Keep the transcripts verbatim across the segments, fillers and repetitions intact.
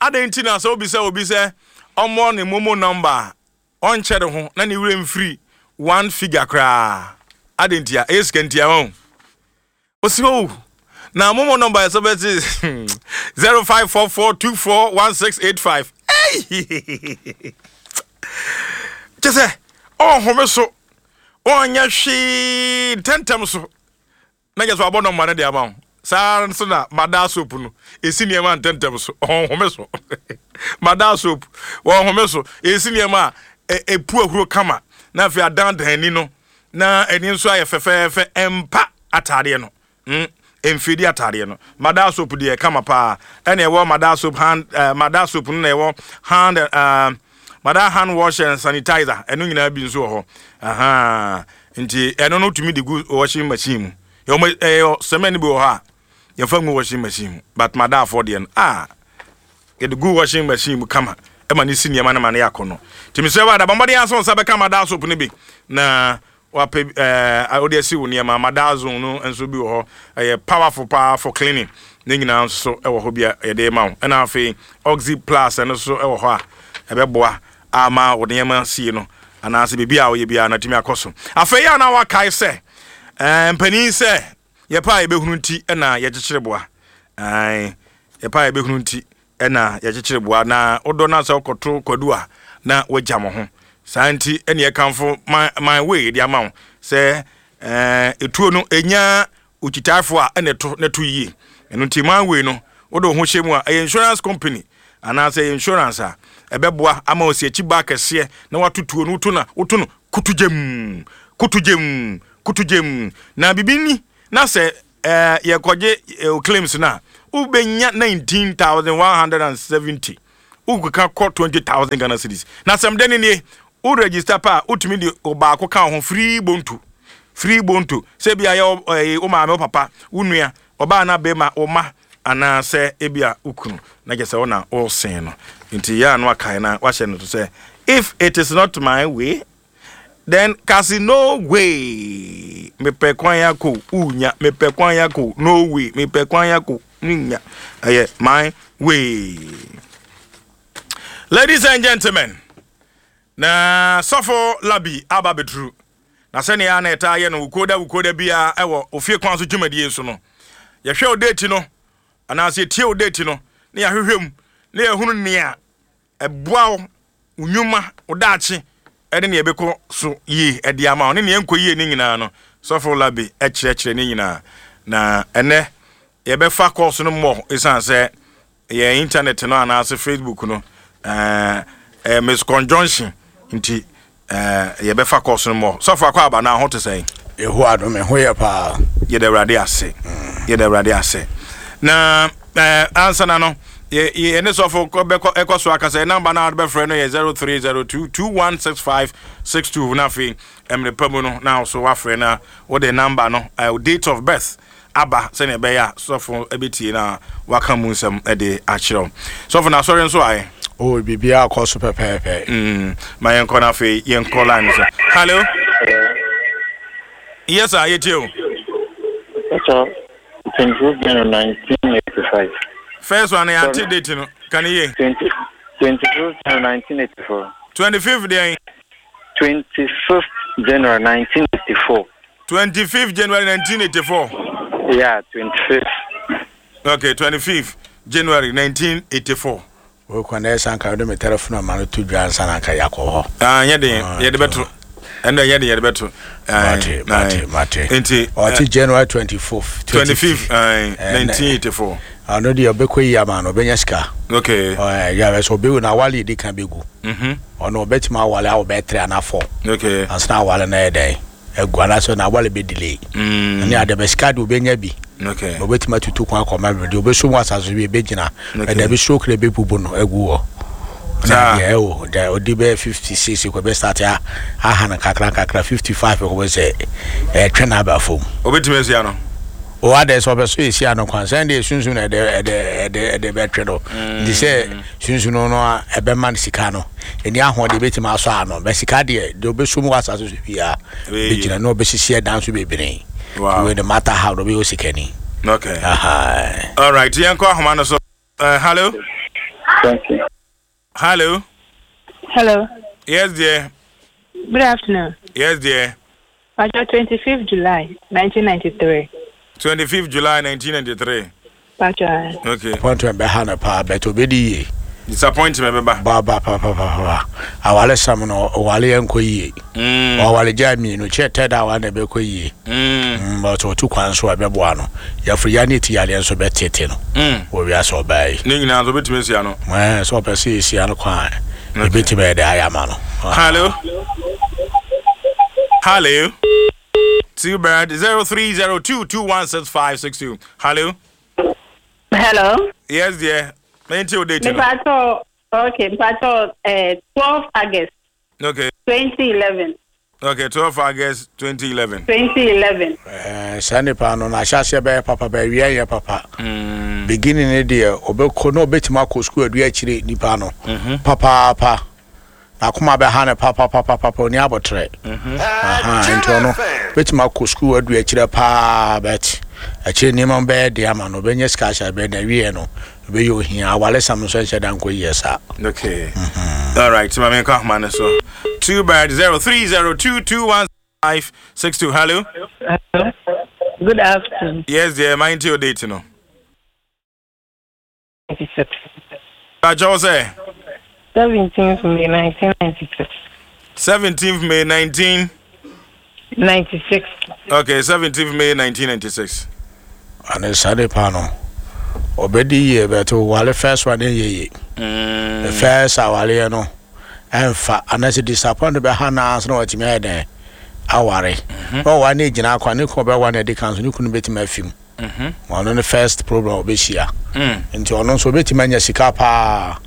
Adɛn nti na sɛ obi sɛ obi sɛ ɔmmɔ ne MoMo number a, ɔnkyɛ ne ho na ne werɛ mfiri one figure koraa? Adɛn nti a ɛyɛ sika nti a wɔn osi o na MoMo number yɛ sɛ bɛte zero five four four two four one six eight five. Kyɛ sɛ ɔnhome so, ɔnyɛ hwee, ntɛntɛm so na kyɛ sɛ wabɔ number no de ama wo. Saa nso na Madaa Soap no ɛsi nneɛma ntɛntɛm so, ɔnhome so. Madaa Soap wɔnhome so, ɛsi nneɛma a ɛpu ahuro kama na afei adandan ani no na ani nso ayɛ fɛfɛɛfɛ. Ɛmpa ataadeɛ no, mm mfidi ataadeɛ no. Madaa Soap deɛ, kama paa. Ɛna ɛwɔ Madaa Soap hand, uh, Madaa Soap no na ɛwɔ hand, uh, Madaa hand wash and sanitizer. Ɛno nyinaa bi nso wɔ hɔ. Aha, nti ɛno no tumi de gu washing machine mu. Yɛwɔ ɛyɛ cement bi wɔ hɔ a yɛfa ngu washing machine mu, but Madaafoɔ deɛ no a yɛde gu washing machine mu kama, ɛma ne si nneɛma no ma ne yɛ akɔ no. Nti mesrɛ wo, ada bɔmmɔden asɛ wo nsa bɛka Madaa Soap no bi na wapɛ ɛɛ wode asi wo nneɛma. Madaa Zone no nso bi wɔ hɔ, ɛyɛ powerful paa for cleaning. Ne nyinaa nso so ɛwɔ hɔ bi a yɛde ma wo. Ɛna afei Oxy Plus, ɛno nso ɛwɔ hɔ a ɛbɛboa ama wo nneɛma sie no anaasɛ biribi a woyɛ biara na atumi akɔ so. Afei a na wakae sɛ ɛɛ mpanin sɛ yɛpɛ a yɛbɛhunu nti ɛna yɛkyekyere boa. Ɛɛ yɛpɛ a yɛbɛhunu nti ɛna yɛkyekyere boa, na wodɔ no sɛ wokɔto kwadu a na wagya mo ho saa. Nti ɛne yɛkamfo my, my Way de ama wo sɛ ɛɛ etuo no ɛnya okyitaafoɔ a ɛna ɛto na ɛto yie. Ɛno nti My Way no, wode wo ho hyɛ mu a, ɛyɛ insurance company anaasɛ ɛyɛ insurance a ɛbɛboa ama osi akyi ba kɛseɛ na wato tuo no. Woto na woto no kutu gyem, kutu gyem, kutu gyem na bibi ni na sɛ ɛɛ yɛkɔgye ɛɛ claims na wobɛnya nineteen thousand one hundred and seventy, wokeka kɔ twenty thousand Ghana cedis. Na sɛm dɛ ne nie, wo register pa a, wotumi de ɔbaako ka wo ho free bonto, free bonto, sɛ ebi ayɛ ɛɛ wo maame, wo papa, wo nua ɔbaa na bɛrima, wo ma anaasɛ ebi a wo kunu na kyerɛ sɛ wo na wɔresɛn no. Nti yɛ a no akae na wahyɛ no to sɛ if it is not my way, then kasi no way. Mepɛ kwan akɔ unya, mepɛ kwan akɔ no way, mepɛ kwan akɔ nya, ɛyɛ My Way. Ladies and gentlemen, na Sɔfo Labi aba bɛduru na sɛnea na ɛtaa yɛ no wukoda wukoda biara ɛwɔ Ofie Kwan So dwumadie so no, yɛhwɛ o date no anaasɛ yɛtie o date no na yɛahwehwɛ mu na yɛhunu nea ɛboa wo, wo nnwuma, wo daakye, ɛne nea ɛbɛkɔ so yie ɛde ama wo ne nea ɛnkɔ yie ne nyinaa no, Sɔfo Labi ɛkyerɛkyerɛ ne nyinaa. Na ɛnɛ yɛbɛfa course no mmɔ, ɛsiane sɛ yɛn internet no anaasɛ Facebook no ɛɛ ɛɛ misconjunction nti ɛɛ yɛbɛfa course no mmɔ. Sɔfo, akɔ aba na ho te sɛn? Yehowa adom, ho yɛ paa. Yɛda Awurade ase, yɛda Awurade ase. Na ɛɛ ansa na no yɛ yɛne sɔfo bɛkɔ ɛkɔ so akasa, number na bɛfrɛ no yɛ zero three zero two two one six five six two. Na afei mmerɛ pa mu no na so wafrɛ na wode number no, ɛɛ date of birth aba, sɛnea ɛbɛyɛ a sɔfo ɛbɛtie na waka mu nsɛm ɛde akyerɛw. Sɔfo, na asɔre nso ayɛ? O, biribiara kɔ so pɛpɛɛpɛ. Mm, ma yɛnkɔ na afei yɛnkɔ line so. Hello, yes sir, yɛtie o. So, twenty-fifth January nineteen eighty-five. First one, yɛante date no ka ne yie. twenty, twenty-fifth January nineteen eighty-four. twenty-fifth deɛn? twenty-fifth January nineteen eighty-four. twenty-fifth January nineteen eighty-four. Yeah, twenty-fifth. Okay, twenty-fifth January nineteen eighty-four. Wokɔ na ɛsɛ anka wode me telephone ama no to dwa ansa na anka yɛakɔ hɔ. Ah, nyɛ den, yɛde bɛto. Ɛnna nyɛ den, yɛde bɛto. Mate, mate, mate. Nti ɔte January twenty-fourth. twenty-fifth nineteen eighty-four. Ɔno deɛ, ɔbɛkɔ yi ama no, ɔbɛnya sika. Okay. Yàrá sɛ ɔbɛwu na awale yɛ di kan bɛgu. Mhm. Ɔno ɔbɛtumi awale a ɔbɛyɛ three ana four. Okay. Ansa na awale no yɛ dɛn agu anaasɛ na awale bɛ delay. Mm. Ɛne ade bɛ sika de ɔbɛnya bi. Okay. Na ɔbɛtumi atutu kwan akɔma bi deɛ ɔbɛso mu asase bi ɛbɛgyina. Okay. Ɛda bi stroke na ɛbɛbubu no agu hɔ. Saa. Na deɛ ɛwɔ deɛ ɔde bɛyɛ fifty six kɔ bɛ start a aha no kakra kakra, fifty five kɔ bɛ sɛ ɛtwe na aba fam. Obetumi asia no. O, adɛ sɛ ɔbɛ so esi ano kwan sɛn deɛ sunsun na ɛde ɛde ɛde ɛde bɛtwe no, nti sɛ sunsun no a ɛbɛma no sika no ɛni ahoɔden ebɛtumi asɔ ano bɛ sika deɛ deɛ ɔbɛso mu wɔ asase so biara Ɛbɛyɛ yie. bɛgyina na ɔbɛsisi ɛdan so bebree. Wow. Wei no matter how no ɔbɛyɛ osikani. Okay. Aha. All right, yɛnkɔ ahoma no so. Uh, hello. Thank you. Hello. Hello. Yes, dear. Good afternoon. Yes, dear. Pacho, twenty-fifth July, nineteen ninety-three. twenty-fifth July nineteen ninety-three. Pacho. Okay. Appointment bɛha no paa, bɛtɛ obɛdi yie. Disappointment bɛba. Ba pa pa pa pa, awale sam no, ɔwale yɛ nkɔ yie. Mm. Ɔwale gya mmienu kyɛ tɛ da awa na ɛbɛkɔ yie. Mm. Mm, but ɔtu kwan so a, ɛbɛboa no. Yɛfiri ya ne ti yadeɛ nso bɛtete no Mm. wɔ wiase ɔbaa yi. Ne nyinaa nso wobɛtumi asia no. Ɛɛ, sɛ ɔpɛ sɛ yɛsia no kwan a, ɛbɛtumi ɛde ayɛ ama no. Hello. Hello. Two bird zero three zero two two one six five six two. Hello. Hello. Yes, dear. Maintain your date. Mepacho, okay, mepacho, uh, twelve August Okay. twenty eleven. Okay. Twelve August twenty eleven. twenty eleven. Ɛɛ, saa nipa no n'ahyɛaseɛ bɛyɛ papa, bɛawia yɛ papa. Mm. Beginning ne deɛ, ɔbɛkɔ na ɔbɛtumi akɔ sukuu adu akyire. Nipa no papaapa, n'akoma bɛha no papapapapa, oni abɔtrɛ. Aha, nti ɔno bɛtumi akɔ sukuu adu akyire paa, but akyire nneɛma bɛyɛ de ama no, ɔbɛnya sika ahyɛ bɛyɛ na awie no ɔbɛyɛ ohia. Awale sam nso nhyɛ da nkɔ yie saa. Okay. All right. So, my man, so two bird zero three zero two two one five six two. Hello. Hello. Good afternoon. Yes, dear. Mind your date, no. ninety-six. Pacho say seventeenth May nineteen ninety-six. seventeenth May nineteen. ninety-six. Okay, seventeenth May nineteen ninety-six. Ane saa nipa no ɔbɛdi yie, but wale first one yɛ yie. Mm. The first awaleɛ no ɛnfa anaasɛ disappoint bɛha naa so na watumi ayɛ dɛn aware na ɔwa ne gyina akwa ne kunu ɔbɛwa ne ɛdi kan so ne kunu bɛtumi afi mu. Mhm. Ɔno ne first problem a ɔbɛhyia. Mm. Nti ɔno nso ɔbɛtumi anya sika paa.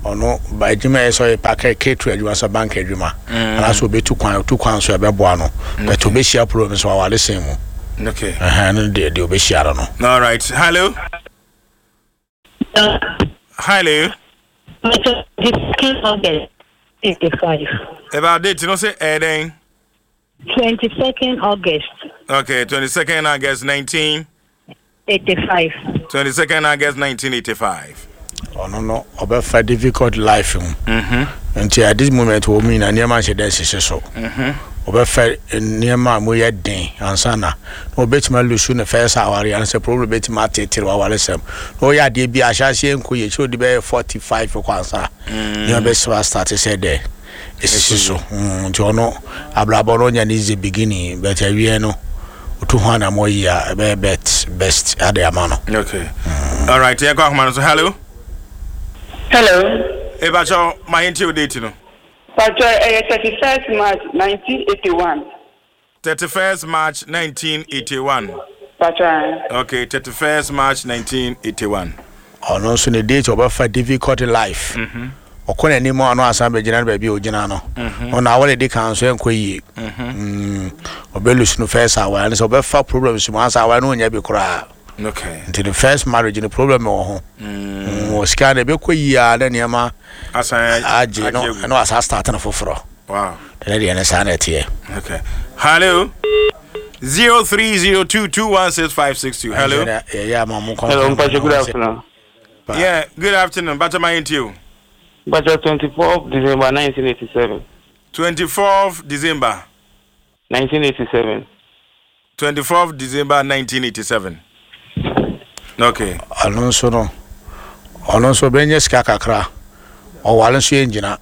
Ɔno ba adwuma yɛ sɛ ɔyɛ paka ketu adwuma, sɛ bank adwuma, anaasɛ ɔbɛtu kwan. Ɔtu kwan so, ɛbɛboa no, but ɔbɛhyia problem so awale sen mu. Okay. Ɛhɛn, no deɛ deɛ ɔbɛhyia no no. All right. Hello. Hello. twenty-second August eighty-five. About date, you know, say, eh, then. twenty-second August. Okay, twenty-second August nineteen. eighty-five. twenty-second August nineteen eighty-five. Ɔno no ɔbɛfa difficult life mu. Mm-hmm. Nti at this moment wɔ mu nyinaa, nneɛma nhyɛ dɛ nhyehyɛ so. Mm-hmm. Ɔbɛfa nneɛma a mu yɛ den ansa na na ɔbɛtumi alose ne first aware, anasɛ problem bɛtumi atetere waware sɛm na ɔyɛ adeɛ bi ahyɛaseɛ nkɔ yɛ kyerɛ ɔde bɛyɛ forty five kɔ ansa nneɛma bɛsɛ astart sɛ dɛ ɛsisi so. Mm, nti ɔno abrabɔ no ɔnya ne easy beginning, but awie no otu ho anamɔ yi a, ɛbɛyɛ bet best ade ama no. Okay. All right. Yeah, go on, so hello. Hello. Mepacho, my your date, no. Pacho, eh, thirty-first March nineteen eighty-one. thirty-first March nineteen eighty-one. Pacho. eh, Okay, thirty-first March nineteen eighty-one. Ɔno nso ne date, ɔbɛfa difficult life. Ɔkɔ n'anim a, ɔno asan bɛgyina no baabi a ɔgyina no. Ɔno awɔre di kan so ɛnkɔ yie. Mm, ɔbɛlose no first aware ne sɛ ɔbɛfa problems mu ansa aware no ɔnya bi koraa. Okay. Nti the first marriage no, problem wɔ ho. Mm, wɔ sika no ɛbɛkɔ yie a, na nneɛma Asan agye no agu. ɛna wasa start no foforɔ. Wow. Ɛne deɛ ne saa na ɛteɛ. Okay. Hello. Zero three zero two two one six five six two. Hello. Yɛyɛ ama mo. Hello, Mpacho, good afternoon. Yeah. Good afternoon. Bacha my you. Mpacho, twenty-fourth December nineteen eighty-seven. Twenty fourth December. nineteen eighty-seven. Twenty fourth December nineteen eighty seven. Okay. Ɔno nso no, ɔno nso ɔbɛnya sika kakra. Ɔware nso yɛ ngyina.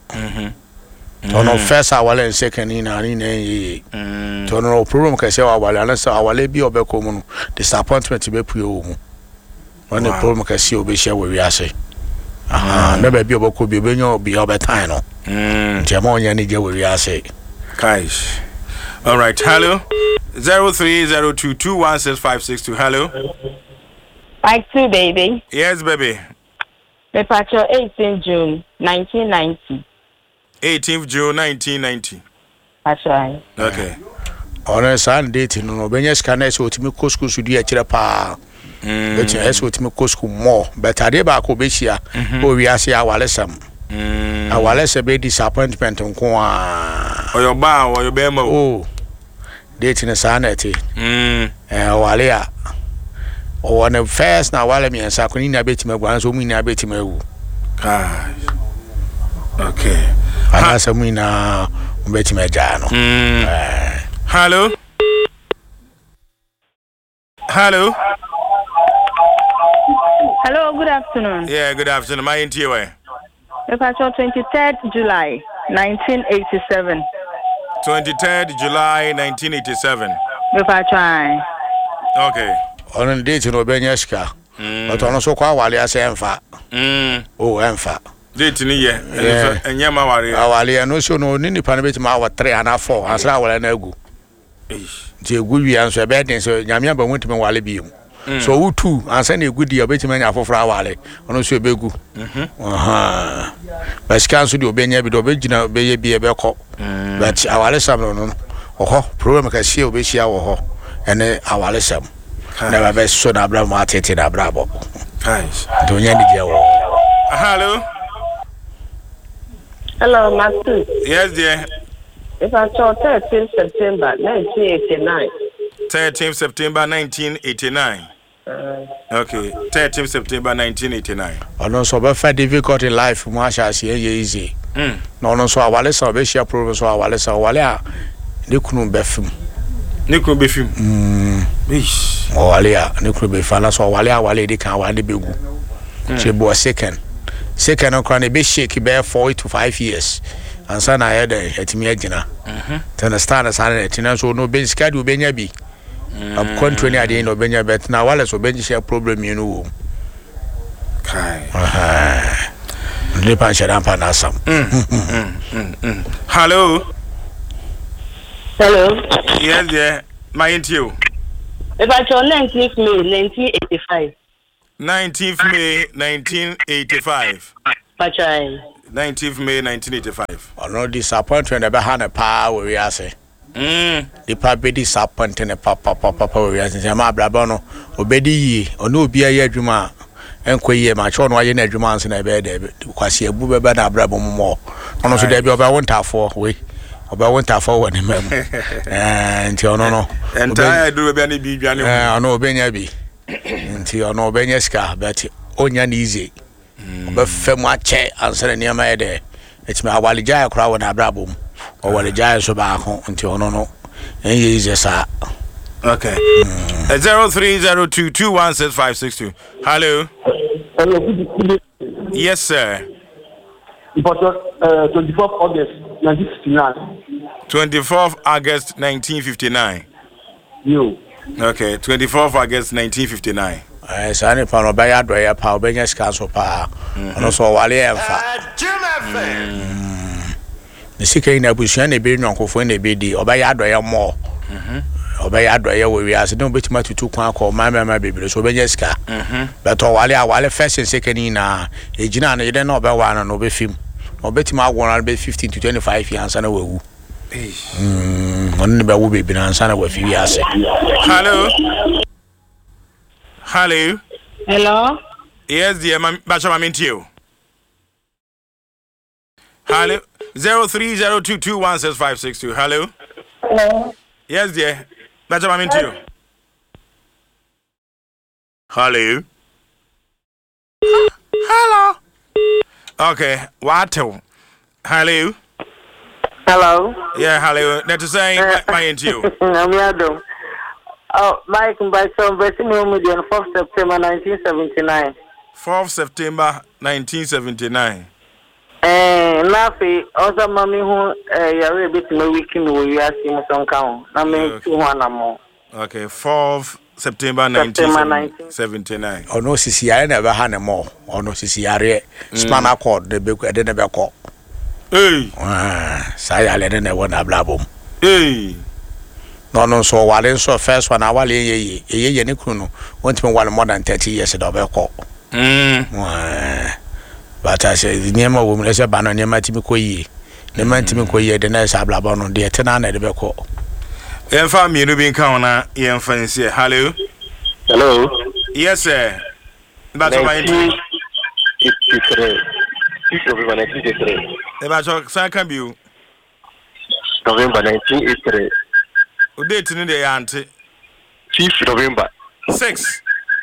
Ɔno first aware and second nyinaa ne nyinaa yɛ yie. Nti ɔno no problem kɛseɛ wɔ aware anasɛ aware bi a ɔbɛkɔ mu no, disappointment bɛpue wɔ mu. Ɔne Wow. problem kɛseɛ a ɔbɛhyia wɔ wiase. Aha, na baabi a ɔbɛkɔ bi, ɔbɛnya obi a ɔbɛtan no. Mm. Nti ɛma ɔnya ne gye wɔ wiase. Kaish. All right. Hello. Zero three zero two two one six five six two. Hello. Like two, baby. Yes, baby. Mepacho, eighteen June nineteen ninety. Eighteenth June nineteen ninety. Pacho. Okay. Ɔno saa ne date no no ɔbɛnya sika na ɛsɛ ɔtumi kɔ sukuu so di akyerɛ paa. Bɛtumi ɛsɛ ɔtumi kɔ sukuu mɔ, but adeɛ baako ɔbɛhyia wɔ wiase yɛ awalesɛm. Mm. Awalesɛm bɛyɛ disappointment nko a. Ɔyɛ ɔbaa, ɔyɛ bɛrima o. O date no saa na ɛte. Mm. Ɛɛ, ɔwale a ɔwɔ ne first na awale mmiɛnsa ko ne nyinaa bɛtumi agu, anaasɛ ɔmu nyinaa bɛtumi awu. Kai. Okay. Anaasɛ mu nyinaa wobɛtumi agyaa no. Mm. Eh, Hello. Hello. Hello, good afternoon. Yeah, good afternoon. My N T A. Mepacho twenty-third July nineteen eighty-seven. twenty-third July nineteen eighty-seven. Mepacho ae. Okay. Ɔno no date no ɔbɛnya sika, but ɔno nso kɔ awale asɛ ɛmfa. Mm. O ɛmfa. Date ni yɛ. Yeah. Ɛnyɛ ma ware. Awale no so no, ne nipa no bɛtumi awɔ three anaa four ansana awale no agu. Eish. Nti egu wia nso ɛbɛyɛ den sɛ Nyame aba mu ntumi wale bio. So ɔwo tu ansa na egu deɛ, ɔbɛtumi anya foforɔ awale, ɔno nso ɛbɛgu. Ɔhɔn. But sika nso deɛ, ɔbɛnya bi deɛ, ɔbɛgyina bɛyɛ bi, ɛbɛkɔ, but awalesɛm no no ɔhɔ problem kɛseɛ a ɔbɛhyia wɔ hɔ ɛne awalesɛm na bɛbɛso n'abrabɔ mu atete n'abrabɔ. Guys. Nti ɔnya anigyeɛ wɔ hɔ. Hello. Hello, Master. Yes, dear. Mepacho thirteen September nineteen eighty-nine. thirteenth September nineteen eighty-nine. Okay. thirteenth September nineteen eighty-nine. Ɔno nso ɔbɛfa difficult in life mu ahyɛ aseɛ yɛ easy. Mm. Na ɔno nso awale sa ɔbɛhyia problem so awale sa ɔwale a ne kunu bɛfim. Ne kunu bɛfim. Eish. Ɔwale a ne kunu bɛfim anaasɛ ɔwale a awale edi kan awale ne bɛgu so ebu second second no koraa na ebe shake bɛyɛ four to five years ansa na ayɛ dɛ ɛtumi agyina. Nti na star na saa na ɛte na nso no ɔbɛ sika de ɔbɛnya bi akwantuo ne adeɛ na ɔbɛnya bɛt na awale so ɔbɛhyia problem mmienu wɔ mu. Kai. Ɛhɛn. Nipa nhyɛ da mpa n'asam. Hello. Hello. Yes, dear. My N T O. Mepacho nineteenth May nineteen eighty-five. nineteenth May nineteen eighty-five. Pacho ae. nineteenth May nineteen eighty-five. Ɔno disappointment na ɛbɛha ne paa wɔ wiase. Mm. Nipa bɛ disappoint ne papapapa wɔ wiase, nti ɛma abrabɔ no obɛdi yie, ɔne obi ayɛ adwuma a ɛnkɔ yie ma kyɛw no wayɛ no adwuma ansa na ɛbɛyɛ dɛ kwasi abu bɛbɛ na abrabɔ mu mɔ. Ɔno nso dɛbi ɔbɛwo ntaafoɔ wei, ɔbɛwo ntaafoɔ wɔ ne ma mu. Ɛɛ, nti ɔno no Entire do be ani bi dwane. ɛɛ, ɔno ɔbɛnya bi, nti ɔno ɔbɛnya sika, but ɔnya ne easy, ɔbɛfɛ mu akyɛ ansa na nneɛma yɛ dɛ ɛtumi awale gyae koraa wɔ n'abrabɔ mu, ɔwale gyae nso baako, nti ɔno no ɛnyɛ easy saa. Okay. Uh, Zero three zero two two one six five six two. Hello. Hello, good, good. Yes, sir. Important, uh, twenty-fourth August nineteen fifty-nine. Twenty fourth August nineteen fifty nine. You. Okay, twenty fourth August nineteen fifty nine. Ɛɛ, saa nipa no ɔbɛyɛ adɔyɛ paa, ɔbɛnya sika nso paa. Ɔno nso ɔwale yɛ mfa ne sika yi na abusua na ebi nyɔnkofoɔ na ebi di. Ɔbɛyɛ adɔyɛ mɔɔ, ɔbɛyɛ adɔyɛ wɔ wiase ne ɔbɛtumi atutu kwan akɔ ɔman mɛma bebree so, ɔbɛnya sika bɛtɛ ɔwale awale first and second nyinaa egyina no yɛdɛ na ɔbɛwa no na ɔbɛfim na ɔbɛtumi awo no bɛ fifteen to twenty five years ansa na wawu. Mm, ɔno ne bɛwo bebree ansa na wafi wiase. Hello. Hello. Hello. Yes, dear. Ma Bacha ma mintie. Hello. Zero three zero two two one six five six two. Hello. Hello. Yes, dear. Bacha ma mintie. Hello. Hello. Okay. What? Hello. Hello. Yeah, hello. That is saying my N T O. I'm Yadom. Oh, Mike Mbacho, Betty on fourth September nineteen seventy-nine. fourth September nineteen seventy-nine. Eh, na afei ɔsɛ ma me hu eh, yare ebetumi awiki mi wɔ wiase mu sɛ nka ho na me tu ho anammɔ. Okay, fourth September September nineteen seventy-nine. Ɔno sisi yare na ɛbɛha ne mɔ, ɔno sisi yareɛ, spinal cord de bɛ ɛde ne bɛkɔ. Hey, Ah, saa yare ne na ɛwɔ n'abrabɔ mu. Hey. Na ɔno nso ɔwale nso first one awale yɛ yie, ɛyɛ yɛ ne kunu no wɔntumi wale more than thirty years da ɔbɛkɔ. Mm. Ɛɛ, but asɛ nneɛma wɔ mu ɛsɛ ba no nneɛma tumi kɔ yie, nneɛma ntumi kɔ yie de na ɛsɛ abrabɔ no deɛ ɛte na na ɛde bɛkɔ. Yɛmfa mmienu bi nka ho na yɛmfa nsie. Hello. Hello. Yes, sir. Bacha ma ntie. nineteen eighty-three. six November nineteen eighty-three. Bacha san ka bio. November nineteen eighty-three. O date no deɛ yɛ ante. fifth November. Six.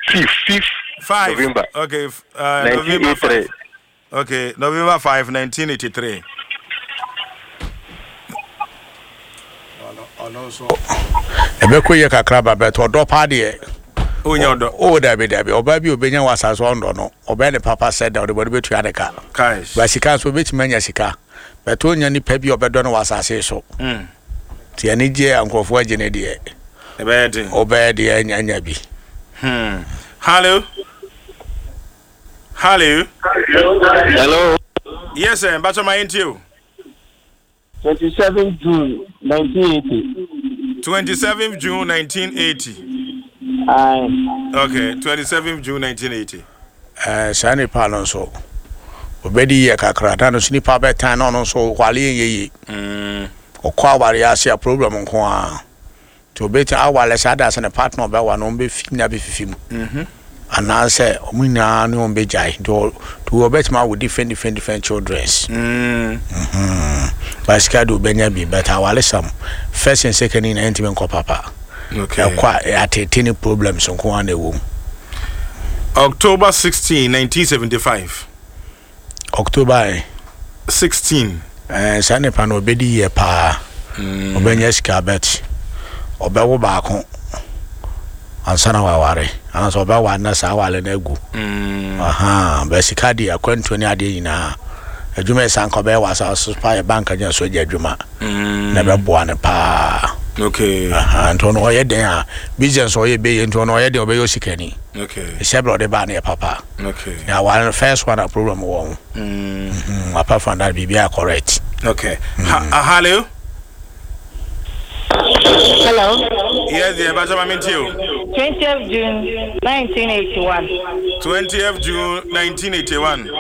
fifth, fifth Five. November. Okay. f- Uh, November nineteen eighty-three. five. Okay, November five, nineteen eighty-three. Ɛbɛkɔ yɛ kakra ba bɛtɔ ɔdɔ paa deɛ. Wonya ɔdɔ. O dabi dabi ɔbaa bi obɛnya wɔ asase ɔndɔ no ɔbɛyɛ ne papa sɛ da ɔde bɔde bɛtua ne ka. Guys. Ba sika nso obɛtumi anya sika bɛtɔ onya nipa bi a ɔbɛdɔ no wɔ asase so. Mm. Nti ani gye a nkurɔfoɔ agye ne deɛ. Ɛbɛyɛ den. Ɔbɛyɛ deɛ anya anya bi. Hmm. Hello. Hello. Hello. Yes, sir. Mbacho ma yɛntie o. twenty-seven June nineteen eighty. twenty-seventh June nineteen eighty. Aye. Okay, twenty-seventh June nineteen eighty. Eh, saa nipa no nso obɛdi yɛ kakra na no so nipa bɛtan na ɔno nso wale yɛ yie. Mm. Ɔkɔ aware ase a problem nko a nti obɛti awale saa da sɛ ne partner ɔbɛwa no ɔmbɛfi nyinaa bɛfifi mu. Mhm. Anaasɛ ɔmo nyinaa ne ɔmo bɛgyae nti ɔ- nti ɔbɛtumi awo different different different childrens. Mm. Mhm. But sika de obɛnya bi, but awale sam first and second nyinaa ntumi nkɔ papa. Okay. Ɛkɔ a atete ne problems nko a na ɛwɔ mu. October sixteen, nineteen seventy-five. October eh? sixteen. Eh, saa nipa no obɛdi yie paa. Mm. Ɔbɛnya sika bet ɔbɛwo baako ansa na waware anaasɛ ɔbɛware na saa aware no agu. Mm. Aha, bɛ sika deɛ akwantuo ne adeɛ nyinaa adwuma yɛ sanka ɔbɛyɛ wɔ asase so paa yɛ bank anya so agya adwuma. Mm. Na ɛbɛboa no paa. Okay. Aha, nti ɔno ɔyɛ den a business ɔyɛ bɛyɛ nti ɔno ɔyɛ den ɔbɛyɛ osikani. Okay. Ɛhyɛ berɛ ɔde baa no yɛ papa. Okay. Na aware no first one a problem wɔ ho. Mm. Mm, apart from that biribiara correct. Okay. Ha- uh, hello. Hello. Yes, dear. Mbacho ma mentie o. twentieth June nineteen eighty-one. twentieth June nineteen eighty-one.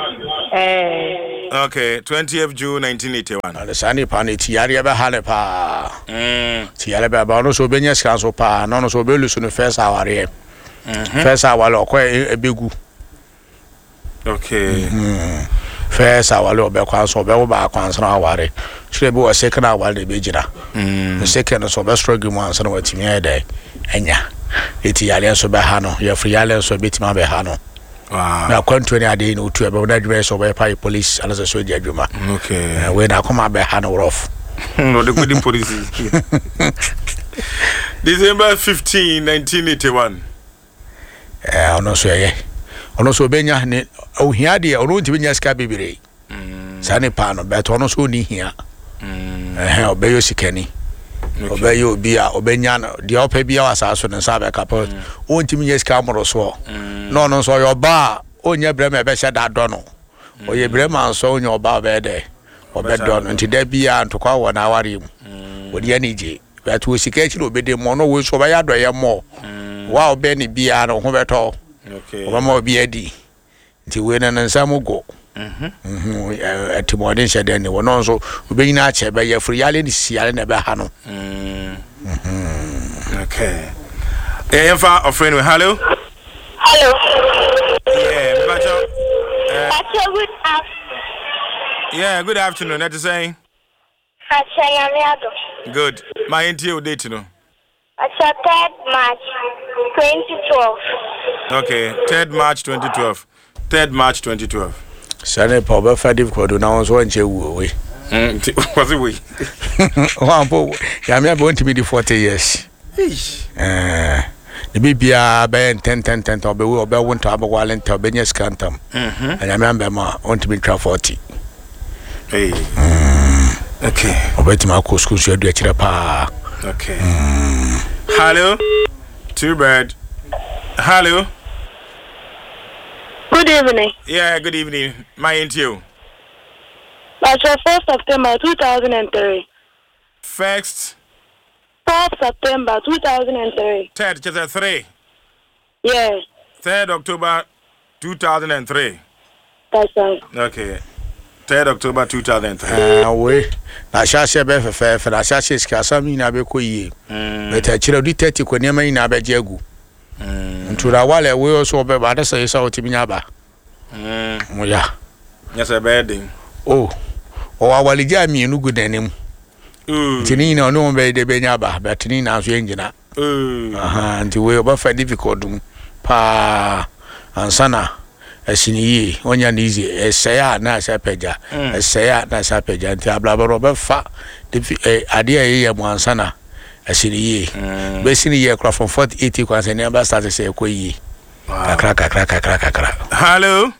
Eh. Okay, twentieth June nineteen eighty-one. Na saa nipa no ti yareɛ bɛha ne paa. Mm. Ti yareɛ bɛha ɔno nso obɛnya sika nso paa na ɔno nso obɛlusu no first awareɛ. Mhm. First aware ɔkɔ ɛbɛgu. Okay. Mm. First aware ɔbɛkɔ anso ɔbɛwo baako ansa na aware. Kyerɛ bi wɔ second aware na ɛbɛgyina. Mm. Second nso ɔbɛ struggle mu ansa na watumi ayɛ dɛ ɛnya. Eti yareɛ nso bɛha no yɛfiri yareɛ nso ɛbɛtumi abɛha no. Wow. Na akwantuo ne adeɛ yi na otu ɛbɛn na adwuma yɛ sɛ ɔbɛyɛ pa yɛ police anasɛ so gya adwuma. Okay. Eh, wei na akoma abɛha no rough. No, the good police. December fifteenth, nineteen eighty-one. Eh, ɔno nso ɛyɛ ɔno nso ɔbɛnya ne ohia deɛ ɔno ntumi nya sika bebree. Saa nipa no bɛtɛ ɔno nso ɔni hia. Ɛhɛn ɔbɛyɛ osikani. Ɔbɛyɛ obi a ɔbɛnya no deɛ ɔpɛ biara wɔ asase so ne nsa bɛka pɛ ɔntumi nya sika mmoro soɔ. Na ɔno nso ɔyɛ ɔbaa a ɔnyɛ brɛma ɛbɛhyɛ da dɔ no. Ɔyɛ brɛma nso ɔnyɛ ɔbaa a ɔbɛyɛ dɛ ɔbɛdɔ no nti da biara ntokwa wɔ n'awareɛ mu. Ɔde ani gye bɛtɛ wɔ sika akyi na ɔbɛdi mmɔ no wɔ nso ɔbɛyɛ adɔyɛ mmɔ. Wa ɔbɛn ne biara no ho bɛtɔ. Okay. Ɔbɛma obi adi nti wei no ne nsa mu go. Mhm. Mhm, ɛ- ɛtìmɔden hyɛ dɛn ne wɔ no nso obɛnyina akyɛ bɛyɛ firi yale ne sisi yale na ɛbɛha no. Mm. Okay. Yeah, yɛmfa ɔfrɛ no. Hello. Hello. Yeah, Mbacho. Uh, Pacho, good afternoon. yeah, good afternoon. That is saying. Pacho, Nyame adom. Good. My N T O date no. Pacho, third March twenty twelve. Okay, third March twenty twelve. third March twenty twelve. Saa nipa ɔbɛfa difficult na wɔn nso wɔnkyɛ wuo wei. Mm, nti, was it wei? Wɔn ampo yàmi abɛ wɔntumi di forty years. Eish. Ɛɛ ne bi biara bɛyɛ ntɛntɛntɛntɛn ɔbɛwu ɔbɛwo ntam abɛwale ntam ɔbɛnya sika ntam. Mhm. Nyame ambɛ mu a ɔntumi ntwa forty. Hey. Mm. Okay. Ɔbɛtumi akɔ sukuu so adu akyerɛ paa. Okay. Hello. Two bird. Hello. Good evening. Yeah, good evening. My N T O. Pacho, fourth September two thousand and three. First. fourth September two thousand and three. Third, chapter three. Yes. Third October two thousand and three. That's right. Okay. Third October two thousand and three. Eh, wei na ahyɛaseɛ bɛyɛ fɛfɛɛfɛ na ahyɛaseɛ sika asɛm nyinaa bɛkɔ yie. But akyerɛ odi thirty kɔ nneɛma nyinaa bɛgye agu. Nti na wale wei nso ɔbɛba ade sɛ yɛ sɛ ɔtumi nya aba. Mm. Mo ya. Nyɛ sɛ ɛbɛyɛ den. Oh, ɔwɔ awaregye a mmienu gu n'anim. Mm. Nti ne nyinaa ɔne wɔn bɛyɛ de bɛnya aba but ne nyinaa nso yɛngyina. Mm. Aha, nti wei ɔbɛfa difficult mu paa ansa na Ɛsi ne yie, ɔnya ne easy. Ɛsɛe a na ɛsɛ apagya, ɛsɛe a na ɛsɛ apagya. Nti abrabɔ no ɔbɛfa defi ɛ adeɛ a ɛyɛ mu ansa na ɛsi ne yie. Bɛsi ne yie kora from forty eight kwan sɛ nneɛma start sɛ ɛkɔ yie kakra kakra kakra kakra. Hello.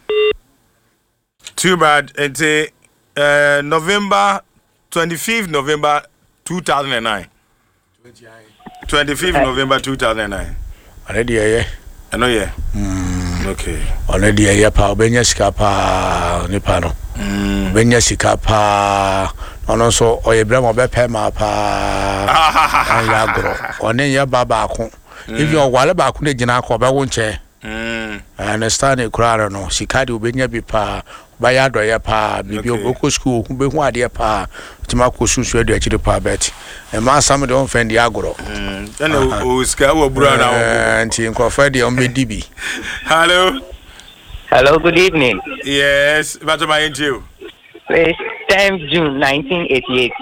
Too bad. Nti uh, November twenty-fifth November two thousand nine. twenty-fifth November two thousand nine. Ɔno deɛ ɛyɛ. Ɛno yɛ. Okay. Ɔno deɛ ɛyɛ paa, ɔbɛnya sika paa. Nipa no ɔbɛnya sika paa. Ɔno nso ɔyɛ brɛ ma ɔbɛpɛ ma paa, ɔnyɛ agorɔ. Ɔne nyɛ ba baako, even ɔwale baako ne gyina akɔ ɔbɛwo nkyɛn. Mm. Understand koraa no no sika deɛ ɔbɛnya bi paa, ɔbɛyɛ adɔyɛ paa biribi. Okay. Ɔbɛkɔ sukuu, ohu bɛhu adeɛ paa, ɔtumi akɔ sunsun adu akyiri paa, bɛt ɛma asam deɛ ɔmfɛn deɛ agorɔ. Mm. Ɛna o sika wɔ bura na wɔ. Ɛɛ, nti nkurɔfoɔ deɛ ɔmbɛdi bi. Hello. Hello, good evening. Yes. Bàtò ma yẹn ti o. Please, tenth June nineteen eighty-eight.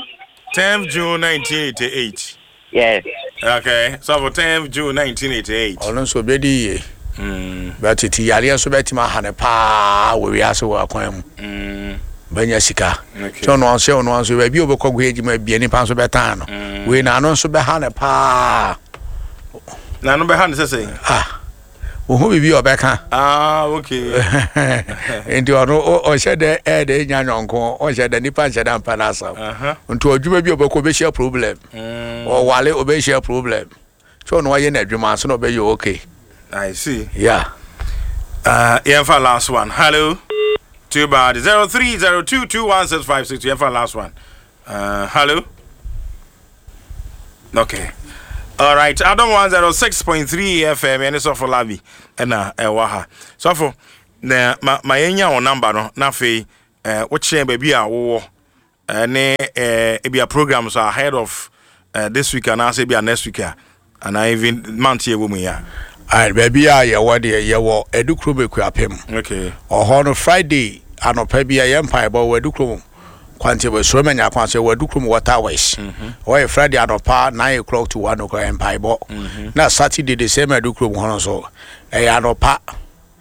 tenth June nineteen eighty-eight. Yes. Okay. So for tenth June nineteen eighty-eight. Ɔno nso ɔbɛdi yie. Mm. Bɛtete yareɛ nso bɛtumi aha ne paa wɔ wiase wɔ akwan mu. Mm. Bɛnya sika. Okay. Sɛ ɔno nso ɔno nso baabi a ɔbɛkɔ kɔ adwuma bia, nipa nso bɛtan no. Wei na ano nso bɛha ne paa. Na no bɛha ne sɛ sɛ. Ah, ohu biribi a ɔbɛka. Ah, okay. Nti ɔno ɔ- ɔhyɛ dɛ ɛyɛ dɛ nya nyɔnko, ɔhyɛ dɛ nipa nhyɛ dɛ mpa n'asɛm. Uh-huh. Nti ɔdwuma bi a ɔbɛkɔ, ɔbɛhyia problem. Mm. Ɔwale, ɔbɛhyia problem. Sɛ ɔno ɔyɛ n'adwuma nso na ɔbɛyɛ okay. I see. Yeah. Uh, yɛmfa last one. Hello. Too bad. Zero three zero two two one six five six. Yɛmfa last one. Uh, hello. Okay. All right. Adom one zero six point three F M. Ɛne Sɔfo Labi ɛna ɛwɔ ha. Sɔfo, na ma ma yɛnya wɔn number no na afei ɛɛ wokyɛn baabi a wowɔ ɛne ɛɛ ebi a programs are ahead of uh, this week anaasɛ ebi a next week a anaa even month yɛ wɔ mu yi a. Alright, baabi a yɛwɔ deɛ, yɛwɔ Adukrom Ekuapem. Okay. Ɔhɔ no Friday anɔpa bi a yɛ mpaebɔ wɔ Adukrom kwante wɔ Soromanya kwan so, wɔ Adukrom Water Works. Ɔyɛ Friday anɔpa nine o'clock to one o'clock yɛ mpaebɔ. Na Saturday the same Adukrom hɔ no nso ɛyɛ anɔpa,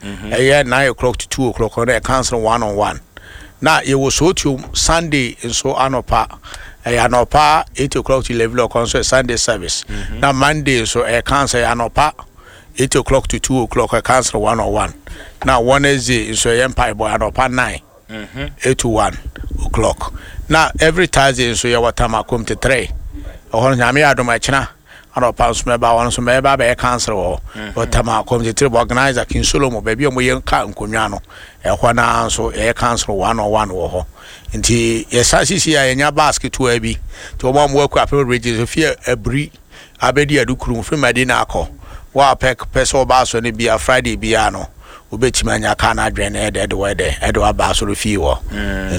ɛyɛ nine o'clock to two o'clock no, yɛ council one on one. Na yɛwɔ Sootuom Sunday nso anɔpa, ɛyɛ anɔpa eight o'clock to eleven o'clock nso yɛ Sunday service. Na Monday nso ɛyɛ council, ɛyɛ anɔpa eight o'clock to two o'clock, ɛyɛ council one on one. Na Wednesday nso ɛyɛ mpaebɔ anɔpa nine eight to one o'clock. Na every Thursday nso yɛwɔ Tama Community three. Ɛhɔ no, Nyame yɛ adom, ɛkyena anɔpa nso mɛba hɔ nso, mɛba abɛyɛ council wɔ hɔ wɔ Tama Community three, organizer King Solomon, baabi a wɔyɛ ka nkonnwa no, ɛhɔ naa nso yɛyɛ council one on one wɔ hɔ. Nti yɛsa sisi a yɛnya bus ketewa bi, nti wɔn a wɔwɔ Akuapem region so fie abiri abɛdi Adukurum firi Madina akɔ wɔn a pɛ pɛ sɛ ɔba asɔ no bia, Friday bia no wobɛtumi anya kaa no adwene no ɛdɛ ɛde wɔ ɛdɛ ɛde waba asɔre fie hɔ.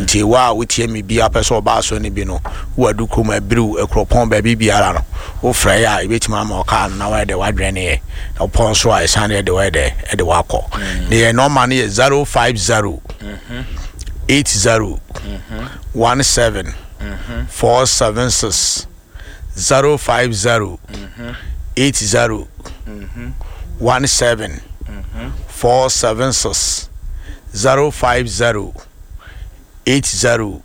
Nti wo a wotie me bia pɛ sɛ ɔba asɔre no bi no, wowɔ Adukurom, Abiriw, Akuropɔn, baabi biara no, wofrɛ yɛ a yɛbɛtumi ama ɔkaa no na wɔyɛ dɛ wadwene yɛ na wopɔn so a ɛsan de ɛde wɔyɛ dɛ ɛde wakɔ. Ne yɛ number no yɛ zero five zero eight zero one seven four seven six, zero five zero eight zero one seven four seven six, zero five zero eight zero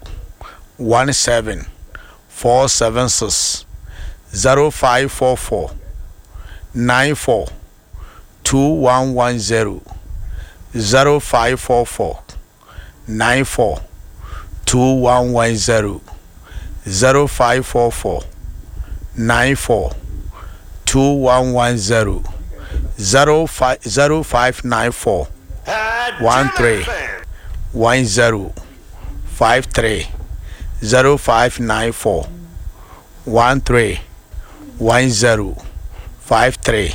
one seven four seven six, zero five four four nine four two one one zero, zero five four four nine four two one one zero, zero five four four nine four two one one zero, zero five zero five nine four one three one zero five three, zero five nine four one three one zero five three,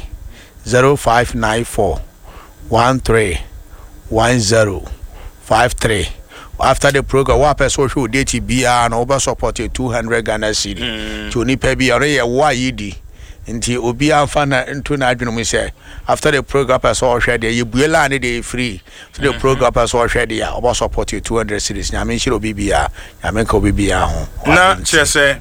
zero five nine four one three one zero five three. After the program, wa pɛ sɛ ɔhwɛ o date biara no, wobɛ support two hundred Ghana cedi. Nti onipa bi ɔno yɛ wo a yi nti obiara nfa na nto n'adwene mu sɛ after the program pɛ sɛ ɔhwɛ deɛ yɛbue line deɛ yɛ free. After the program pɛ sɛ ɔhwɛ deɛ a, ɔbɛ support two hundred cedis. Nyame nhyira obi biara, Nyame nka obi biara ho. Na kyerɛ sɛ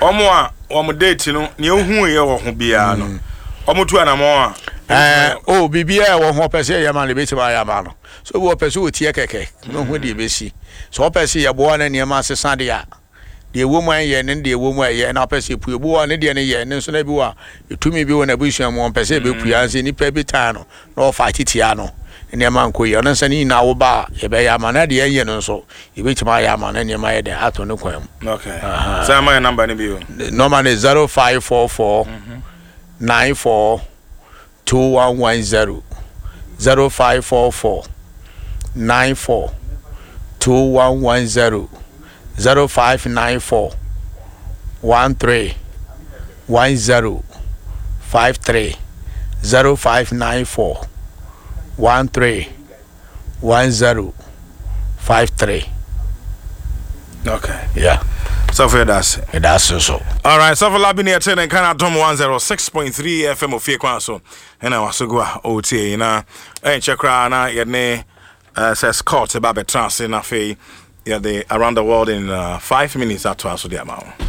ɔmo a wɔn date no nea ohu yɛ wɔ ho biara no, ɔmo tu anamɔ a. Ɛɛ o, biribiara ɛwɔ ho ɔpɛ sɛ yɛyɛ ma no, ebɛtumi ayɛ ama no. So obi ɔpɛ sɛ ɔtie kɛkɛ na ɔhu deɛ ɛbɛsi so, ɔpɛ sɛ yɛboa no nneɛma asesa deɛ a deɛ ɛwɔ mu ɛnyɛ ne deɛ ɛwɔ mu ɛyɛ, na ɔpɛ sɛ epue obi wɔ ne deɛ no yɛ ne nso, na bi wɔ a etumi bi wɔ n'abusua mu, ɔmpɛ sɛ ebɛpue ansa nipa bi tan no na ɔfa titia no, nneɛma nkɔ yie. Ɔno nso ne nyinaa wo ba a, yɛbɛyɛ ama na deɛ ɛnyɛ no nso yɛbɛtumi ayɛ ama no, nneɛma yɛ dɛ ato ne kwan mu. Okay, sɛ ama yɛ number no bi o. Number ne zero five four four nine four two one one zero, zero five four four nine four two one one zero, zero five nine four one three one zero five three, zero five nine four one three one zero five three. Okay. Yeah. Sɔfo, yɛda ase. Yɛda ase so. Alright, Sɔfo Labi ne yɛte ne nka no Adom one oh six point three F M ofie kwan so ɛna waso gu a ɔretie yi na ɛnkyɛ koraa na yɛne uh, sɛ Scott ba bɛtena ase na afei yɛde Around the World in uh, five minutes atoa so de ama wo.